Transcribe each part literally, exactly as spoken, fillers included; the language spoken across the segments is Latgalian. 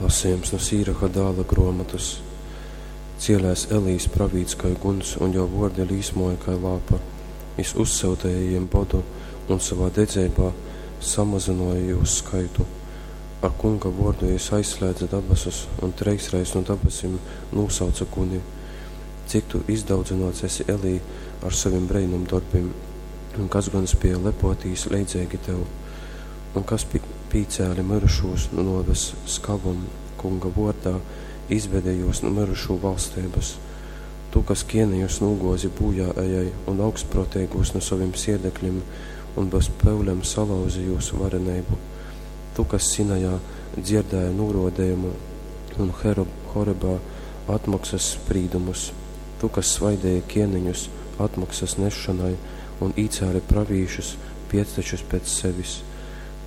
Lasījums nu Sīraha dāla gruomotys. Cielēs Elijs pravīts kai guns, un juo vuordi līsmoja kai lāpa. Jis uzsyuteja jim bodu un sovā dedzeibā samazynuoja jūs skaitu. Ar Kunga vuordu jis aizslēdze dabasus un treisreiz nu dabasim nūsauce guni. Cik tu izdaudzynuots esi, Elij, ar sovim breinumdorbim, un kas gon spieja lepuotīs leidzeigi tev? Un kas pīcēle myrušūs nu nuoves skavom Kunga vuordā, izvede jūs nu myrušū valsteibys? Tu, kas kieneņus nūguozi būjāejai un augstpruoteigūs nu sovim siedeklim un bez pyulem salauzi jūs vareneibu. Tu, kas Sinajā dzierdēji nūruodejumu un Horebā atmoksys sprīdumus. Tu, kas svaideji kieneņus atmoksys nesšonai un īcēli pravīšus piectečus pēc sevis.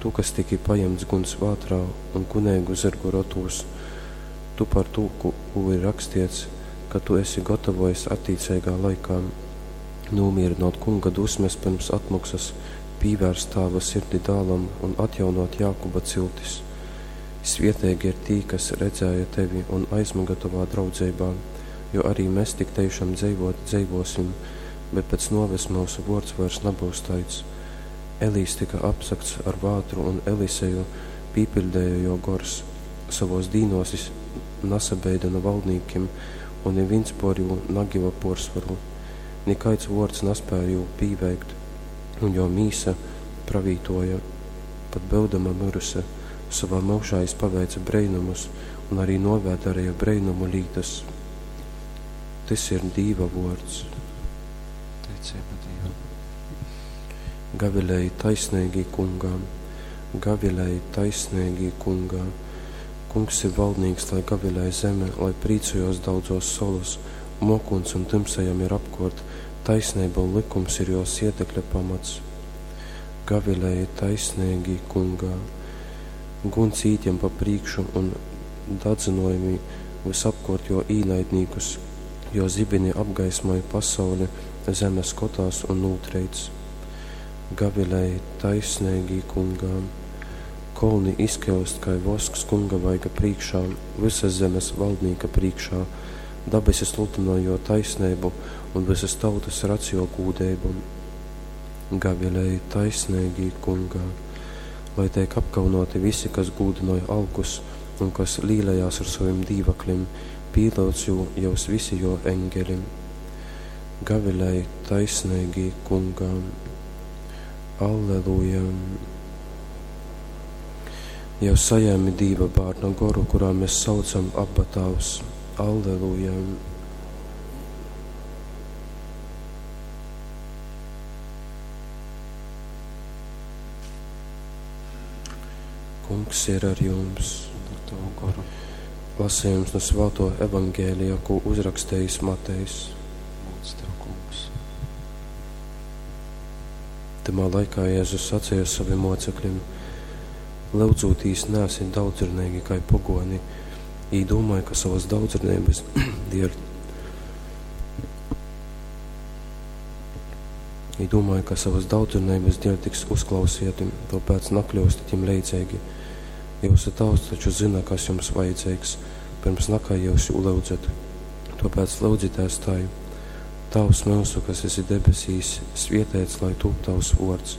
Tu, kas tyki pajimts guns vātrā un guneigu zyrgu rotūs, tu par tū, kū ir rakstiets, ka tu esi gatavojis attīceigā laikā nūmīrynot Kunga dusmes pirms atmoksas, pīvērst tāva sirdi dālam un atjaunot Jākuba ciltis. Svieteigi ir tī, kas redzēja tevi un aizmyga tovā draudzeibā, jo arī mēs tik teišam dzeivot dzeivosim, bet pēc nuoves myusu vuords vairs nabyus taids. Elijs tyka apsagts ar vātru un Eliseju pīpiļdeja juo gors. Sovōs dīnōs jis nasabeida nu valdnīkim, un nivīns por jū nagiva puorsvoru. Nikaids vuords naspēja jū pīveikt, un juo mīsa pravītuoja, pat byudama myruse. Sovā myužā jis paveice breinumus un arī nuovē dareja breinumu lītas. Tys ir Dīva vuords. Teiceiba Dīvam. Gavilēji taisneigī Kungā, gavilēji taisneigī Kungā. Kungs ir valdnīks, lai gavilē zeme, lai prīcojās daudzos solys, muokūņs un tymsa jam ir apkuort, taisneiba un lykums ir juo siedekļa pamats. Gavilēji taisneigī Kungā. Guns īt jam pa prīkšu un dadzynojami vysapkuort juo īnaidnīkus, juo zibini apgaismoj pasauli, zeme skotās un nūtreic. Gavilēji taisneigī Kungā. Kolni izkiust kai vosks Kunga vaiga prīkšā, vysas zemes valdnīka prīkšā. Dabesi sludynoj juo taisneibu un vysas tautys radz juo gūdeibu. Gavilēji taisneigī Kungā. Lai teik apkaunuoti visi, kas gūdynoj alkus un kas līlejās ar sovim dīvaklim, pīlyudz jū jyus visi juo eņgeli. Gavilēji taisneigī Kungā. Alleluja! Jau sajēmi Dīva bārna goru, kurā mēs saucam Abba Tāvs. Alleluja! Kungs ir ar jums. Un ar tavu goru. Lasījums no Svāto Evangēlija, ko uzrakstījis Matejs. Lūdz tev, Kungs. Tymā laikā Jēzus saceja sovim moceklim: Lyudzūtīs naesit daudzruneigi kai pogoni. Jī dūmoj, ka sovys daudzruneibys dieļ Jī dūmoj, ka sovys daudzruneibys dieļ tiks uzklausieti, tuopēc nakļiustit jim leidzeigi. Jyusu Tāvs taču zyna, kas jums vajadzeigs, pyrms nakai jyus jū lyudzat. Tuopēc lyudzitēs tai: Tāvs myusu, kas esi debesīs, svieteits lai tūp tavs vuords,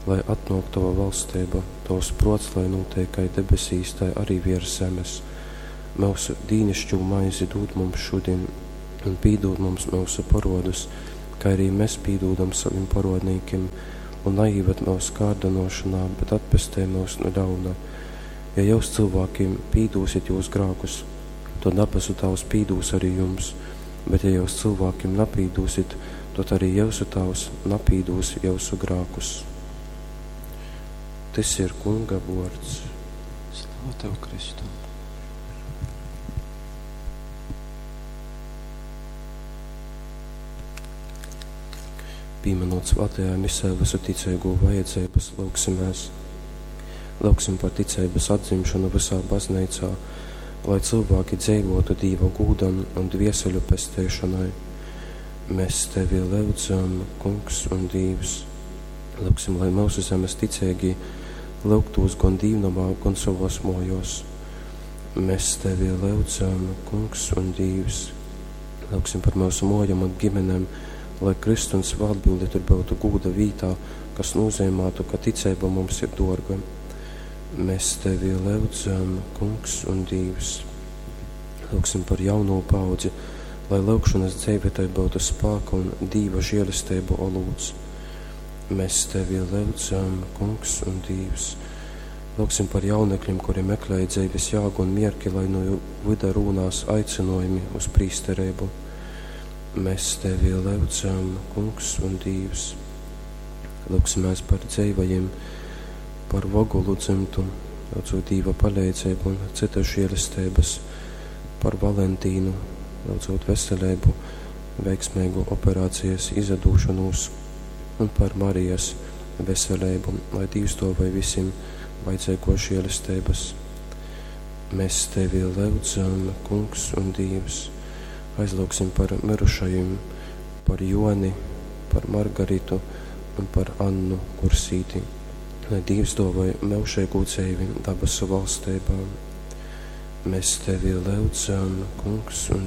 lai atnuok tova valsteiba, tovs pruots lai nūteik kai debesīs, tai arī viers zemes. Myusu dīnišķū maizi dūd mums šudin, un pīdūd mums myusu porodus, kai arī mes pīdūdam sovim porodnīkim, un naīved myus kārdynōšonā, bet atpestej myus nu ļauna. Ja jyus cylvākim pīdūsit jūs grākus, tod dabasu Tāvs pīdūs arī jums, bet ja jyus cylvākim napīdūsit, tod arī jyusu Tāvs napīdūs jyusu grākus. Tys ir Kunga vuords. Slava tev, Kristu! Pīminot svātajā misē visu ticeigū vajadzeibas, lūgsimēs. Lūgsim par ticeibas atdzimšanu visā bazneicā, lai cilvēki dzeivotu Dīva gūdam un dvieseļu pesteišonai. Mēs tevi lyudzam, Kungs un Dīvs. Lūgsim, lai myusu zemes ticeigī lyugtūs gon dīvnomā, gon sovos mojos. Mēs tevi lyudzam, Kungs un Dīvs. Lūgsim par mūsu mojam un ģimenēm, lai Kristu un svētbildi tur būtu gūda vītā, kas nozīmētu, ka ticība mums ir dorga. Mēs tevi lyudzam, Kungs un Dīvs. Lūgsim par jauno paudzi, lai lūgšanas dzīve tai būtu spāka un Dīva žēlestību olūts. Mēs tevi lyudzam, Kungs un Dīvs. Lūgsim par jaunekļiem, kuri meklēja dzīves jāgu un mierki, lai no vida rūnās aicinojumi uz prīsterību. Mēs tevi lyudzam, Kungs un Dīvs. Lūgsimies par dzīvajiem, par Vogulu dzimtu, lūdzot Dīva palīdzību un citas žēlestības, par Valentīnu, lūdzot veselību, veiksmīgu operācijas izadūšanos un par Marijas veselību, lai Dievs dāvāj visiem vajadzīgo žēlestības. Mēs tevi lūdzam, Kungs un Dievs, aizlūgsim par mirušajiem, par Joni, par Margaritu un par Annu Kursīti, lai Dievs dāvāj mūžīgu dzīvi dabasu valstībā. Mēs tevi lūdzam, Kungs un